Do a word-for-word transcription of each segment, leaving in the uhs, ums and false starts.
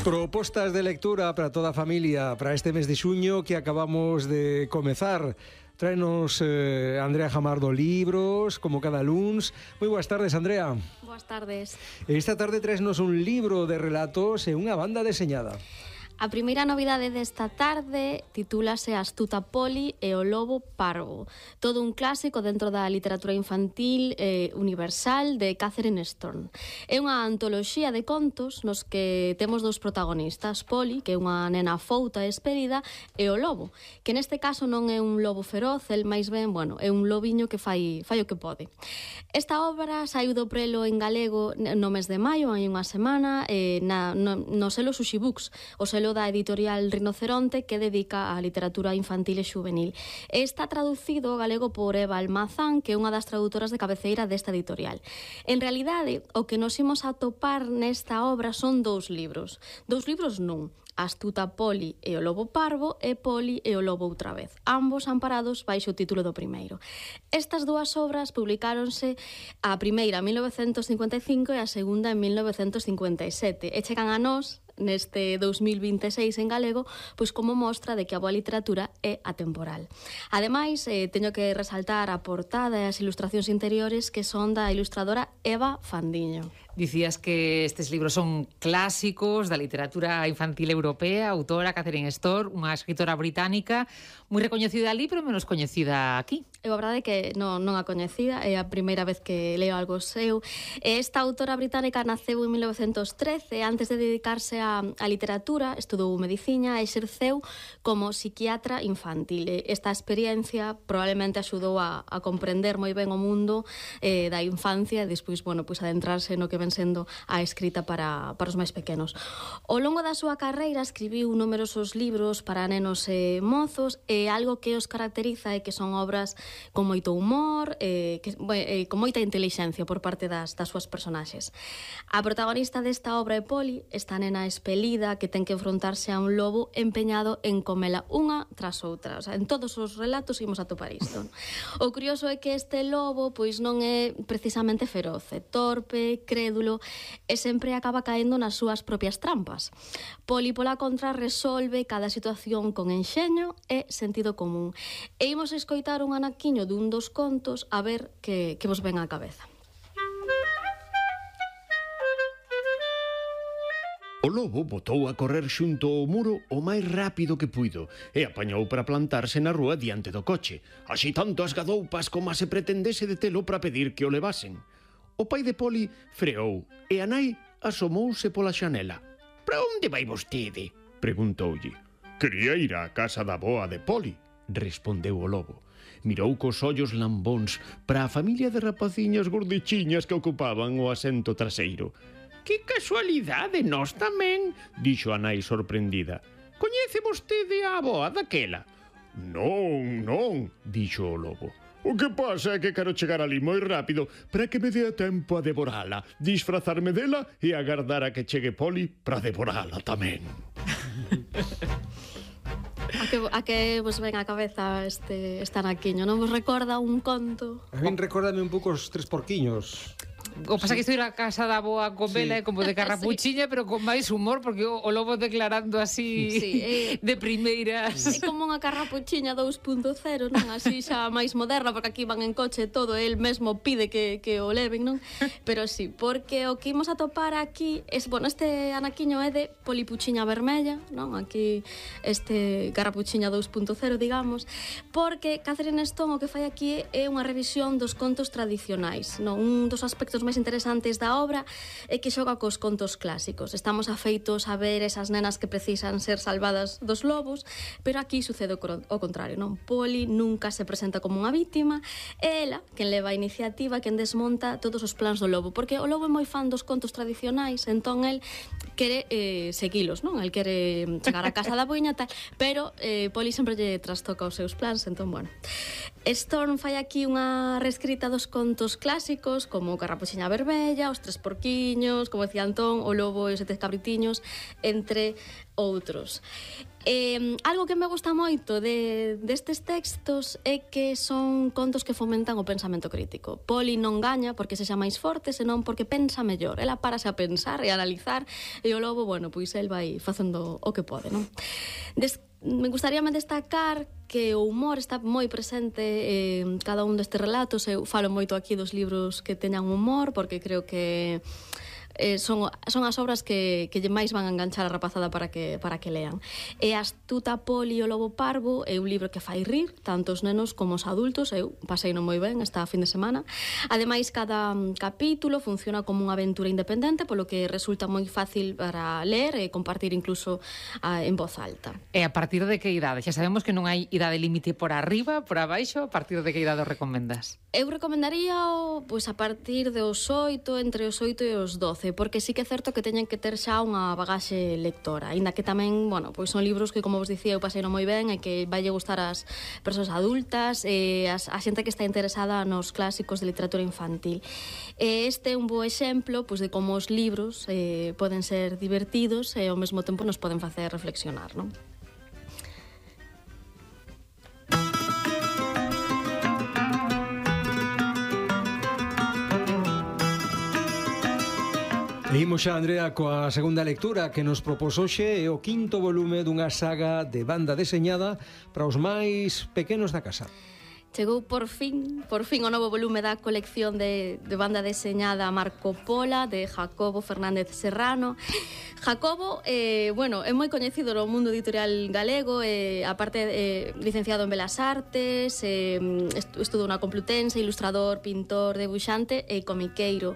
Propostas de lectura para toda a familia para este mes de xuño que acabamos de comezar. Traenos eh, Andrea Jamardo libros, como cada luns. Moi boas tardes, Andrea. Boas tardes. Esta tarde traesnos un libro de relatos e unha banda deseñada. A primeira novidade desta tarde titúlase Astuta Poli e o lobo parvo. Todo un clásico dentro da literatura infantil eh, universal de Catherine Storm. É unha antoloxía de contos nos que temos dous protagonistas, Poli, que é unha nena fouta e esperida, e o lobo, que neste caso non é un lobo feroz, el máis ben, bueno, é un lobiño que fai, fai o que pode. Esta obra saiu do prelo en galego no mes de maio, hai unha semana, eh, na, no, no selo Sushi Books, o selo da editorial Rinoceronte, que dedica á literatura infantil e xuvenil. Está traducido ao galego por Eva Almazán, que é unha das traductoras de cabeceira desta editorial. En realidade, o que nos imos atopar nesta obra son dous libros. Dous libros non. Astuta Poli e o lobo parvo e Poli e o lobo outra vez, ambos amparados baixo o título do primeiro. Estas dúas obras publicáronse a primeira en mil novecentos cincuenta e cinco e a segunda en mil novecentos cincuenta e sete e chegan a nós neste dous mil vinte e seis en galego, pois como mostra de que a boa literatura é atemporal. Ademais, eh, teño que resaltar a portada e as ilustracións interiores que son da ilustradora Eva Fandiño. Dicías que estes libros son clásicos da literatura infantil europea, autora Catherine Storm, unha escritora británica moi recoñecida ali, pero menos coñecida aquí. É a verdade que non, non a coñecida, é a primeira vez que leo algo seu. Esta autora británica naceu en mil novecentos trece, antes de dedicarse a, a literatura, estudou medicina e exerceu como psiquiatra infantil. Esta experiencia probablemente axudou a, a comprender moi ben o mundo eh, da infancia e despois, bueno, pois adentrarse no que ven sendo a escrita para, para os máis pequenos. Ao longo da súa carreira escribiu numerosos libros para nenos e mozos, e algo que os caracteriza é que son obras con moito humor, eh, que, eh, con moita intelixencia por parte das, das súas personaxes. A protagonista desta obra é Poli, esta nena espelida que ten que enfrontarse a un lobo empeñado en comela unha tras outra. O sea, en todos os relatos imos a topar isto. O curioso é que este lobo pois non é precisamente feroz, é torpe, crédulo e sempre acaba caendo nas súas propias trampas. Poli, pola contra, resolve cada situación con enxeño e sentido común. E imos escoitar un anaquiño dun dos contos a ver que, que vos ven á cabeza. O lobo botou a correr xunto ao muro o máis rápido que puido e apañou para plantarse na rúa diante do coche, así tanto as gadoupas como se pretendese detelo para pedir que o levasen. O pai de Poli freou e a nai asomouse pola xanela. «Para onde vai vostede?», preguntoulle. «Quería ir á casa da boa de Poli», respondeu o lobo. Mirou cos ollos lambóns para a familia de rapaciñas gordichiñas que ocupaban o asento traseiro. «Que casualidade, nós tamén», dixo a nai sorprendida. «Coñece vostede a avoa daquela?» «Non, non», dixo o lobo. «O que pasa é que quero chegar ali moi rápido para que me dea tempo a devorala, disfrazarme dela e agardar a que chegue Poli para devorala tamén». A que, a que vos ven á cabeza este, este anaquiño? Non vos recorda un conto? A min recórdame un pouco os tres porquiños. O pasa que estou ir a casa da boa con vela, sí, como de carrapuchiña, sí, pero con máis humor, porque o, o lobo declarando así, sí, eh, de primeiras. É como unha carrapuchiña dous punto cero, non? Así xa máis moderna, porque aquí van en coche todo, el mesmo pide que, que o leven, non? Pero sí, porque o que imos a topar aquí es, bueno, este anaquiño é de Polipuchiña Vermella, non? Aquí este carrapuchiña dous punto cero, digamos, porque Catherine Storm o que fai aquí é unha revisión dos contos tradicionais, non? Un dos aspectos máis interesantes da obra é que xoga cos contos clásicos. Estamos afeitos a ver esas nenas que precisan ser salvadas dos lobos, pero aquí sucede o contrario, non? Poli nunca se presenta como unha vítima, é ela quen leva a iniciativa, quen desmonta todos os plans do lobo, porque o lobo é moi fan dos contos tradicionais, entón el quere eh, seguilos, non? El quere chegar a casa da boiña tal, pero eh, Poli sempre lle trastoca os seus plans, entón, bueno. Storm fai aquí unha reescrita dos contos clásicos como Carrapuxiña Verbella, Os Tres Porquiños, como decía Antón, O Lobo e os Sete Cabritiños, entre outros. Eh, algo que me gusta moito de, destes textos é que son contos que fomentan o pensamento crítico. Poli non gaña porque sexa máis forte, senón porque pensa mellor. Ela parase a pensar e a analizar, e o lobo, bueno, pois el vai facendo o que pode, non? Des Me gustaríame destacar que o humor está moi presente en cada un destes relatos. Eu falo moito aquí dos libros que teñan humor, porque creo que eh, son, son as obras que, que máis van a enganchar a rapazada para que, para que lean. E Astuta Poli e o Lobo Parvo é un libro que fai rir tanto os nenos como os adultos. Eu paseino moi ben esta fin de semana. Ademais, cada capítulo funciona como unha aventura independente, polo que resulta moi fácil para ler e compartir incluso a, en voz alta. E a partir de que idade? Xa sabemos que non hai idade límite por arriba, por abaixo. A partir de que idade o recomendas? Eu recomendaría o, pois, a partir dos oito, entre os oito e os doce, porque sí que é certo que teñen que ter xa unha bagaxe lectora, aínda que tamén, bueno, pois son libros que, como vos dicía, eu paseino moi ben e que vai gustar ás persoas adultas e as, a xente que está interesada nos clásicos de literatura infantil. E este é un bo exemplo, pois, de como os libros eh, poden ser divertidos e ao mesmo tempo nos poden facer reflexionar, non? Imos xa, Andrea, coa segunda lectura que nos propós hoxe, é o quinto volume dunha saga de banda deseñada para os máis pequenos da casa. Chegou por fin, por fin o novo volume da colección de, de banda deseñada Marco Pola, de Jacobo Fernández Serrano. Jacobo, eh, bueno, é moi coñecido no mundo editorial galego, eh, aparte eh, licenciado en Belas Artes, eh, estudou na Complutense, ilustrador, pintor, debuxante e comiqueiro.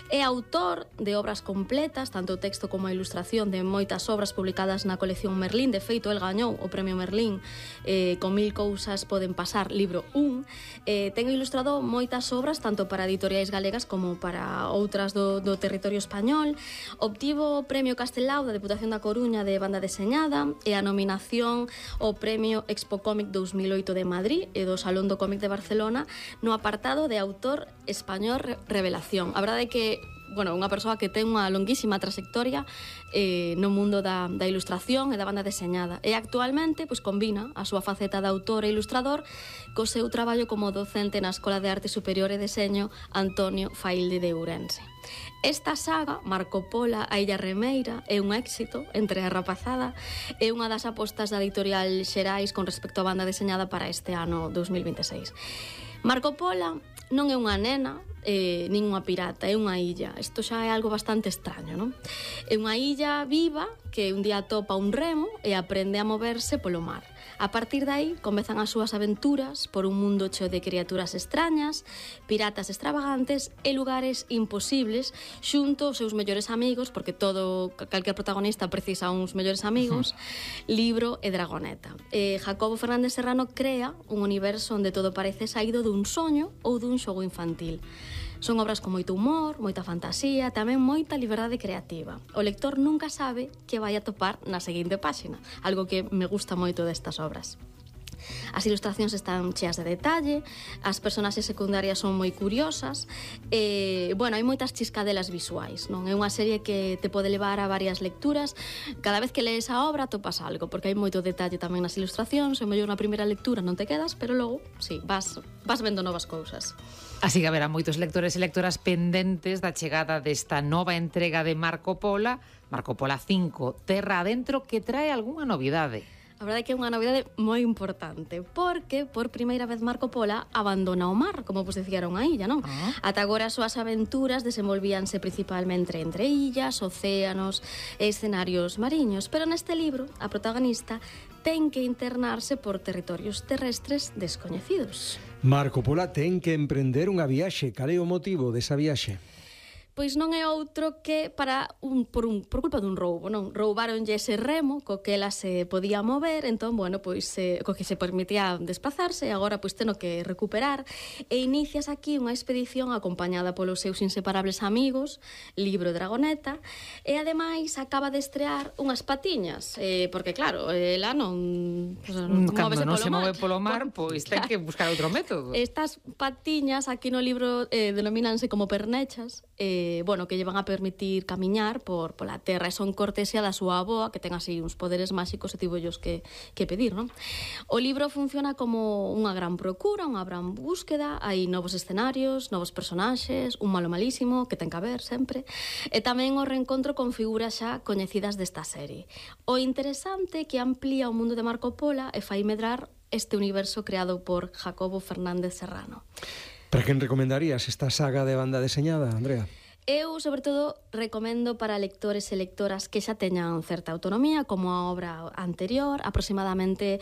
É autor de obras completas, tanto o texto como a ilustración de moitas obras publicadas na colección Merlín. De feito, el gañou o premio Merlín eh, con Mil cousas poden pasar, libro un. Eh, ten ilustrado moitas obras, tanto para editoriais galegas como para outras do, do territorio español. Obtivo o premio Castelao da Deputación da Coruña de banda deseñada e a nominación ao premio Expo Cómic dous mil oito de Madrid e do Salón do Cómic de Barcelona no apartado de autor español revelación. A verdade é que bueno, unha persoa que ten unha longuísima trayectoria eh, no mundo da, da ilustración e da banda deseñada. E actualmente pois, combina a súa faceta de autor e ilustrador co seu traballo como docente na Escola de Arte Superior e Deseño Antonio Failde de Ourense. Esta saga, Marco Pola, a Illa Remeira, é un éxito entre a rapazada, é unha das apostas da editorial Xerais con respecto á banda deseñada para este ano dos mil vinte e seis. Marco Pola non é unha nena, eh, nin unha pirata, é unha illa. Isto xa é algo bastante extraño, non? É unha illa viva que un día atopa un remo e aprende a moverse polo mar. A partir de aí comezan as súas aventuras por un mundo cheo de criaturas extrañas, piratas extravagantes e lugares imposibles xunto aos seus mellores amigos, porque todo, calquer protagonista precisa uns mellores amigos, Libro e Dragoneta. Eh, Jacobo Fernández Serrano crea un universo onde todo parece saído dun soño ou dun xogo infantil. Son obras con moito humor, moita fantasía, tamén moita liberdade creativa. O lector nunca sabe que vai a topar na seguinte páxina, algo que me gusta moito destas obras. As ilustracións están cheas de detalle, as personaxes secundarias son moi curiosas e, bueno, hai moitas chiscadelas visuais, non? É unha serie que te pode levar a varias lecturas. Cada vez que lees a obra topas algo, porque hai moito detalle tamén nas ilustracións, e mellor na primeira lectura non te quedas, pero logo, sí, vas, vas vendo novas cousas. Así que haberá moitos lectores e lectoras pendentes da chegada desta nova entrega de Marco Pola, Marco Pola cinco, Terra Adentro, que trae algunha novidade. A verdade é que é unha novidade moi importante, porque por primeira vez Marco Pola abandona o mar, como vos decía, era unha illa, non? Ah. Ata agora as súas aventuras desenvolvíanse principalmente entre illas, océanos e escenarios mariños, pero neste libro a protagonista ten que internarse por territorios terrestres descoñecidos. Marco Pola ten que emprender unha viaxe. Cal é o motivo desa viaxe? Pois non é outro que para un, por, un, por culpa dun roubo, non? Roubaronlle ese remo co que ela se podía mover, entón, bueno, pois eh, co que se permitía desplazarse, e agora pois teno que recuperar, e inicias aquí unha expedición acompañada polos seus inseparables amigos, Libro e Dragoneta, e ademais acaba de estrear unhas patiñas, eh, porque claro, ela non... Pues, non Cando non se mar. move polo mar, pois ten que buscar outro método. Estas patiñas aquí no libro eh, denomínanse como pernechas, eh, bueno, que llevan a permitir camiñar por pola terra, e son cortesia da súa avoa, que ten así uns poderes máxicos e tivo ellos que, que pedir, non? O libro funciona como unha gran procura, unha gran búsqueda, hai novos escenarios, novos personaxes, un malo malísimo, que ten que haber sempre, e tamén o reencontro con figuras xa coñecidas desta serie. O interesante é que amplía o mundo de Marco Polo e fai medrar este universo creado por Jacobo Fernández Serrano. Para quen recomendarías esta saga de banda deseñada, Andrea? Eu, sobre todo, recomendo para lectores e lectoras que xa teñan certa autonomía, como a obra anterior, aproximadamente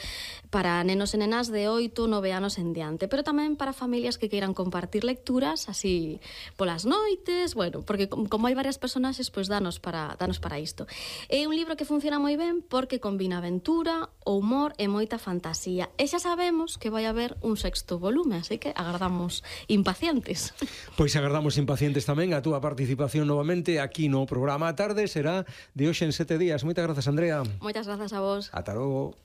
para nenos e nenas de oito, nove anos en diante, pero tamén para familias que queiran compartir lecturas, así polas noites, bueno, porque como hai varias personaxes, pois danos para, danos para isto. É un libro que funciona moi ben porque combina aventura, o humor e moita fantasía. E xa sabemos que vai haber un sexto volume, así que agardamos impacientes. Pois agardamos impacientes tamén a túa participación novamente aquí no programa A Tarde, será de hoxe en sete días. Moitas grazas, Andrea. Moitas grazas a vos. Ata logo.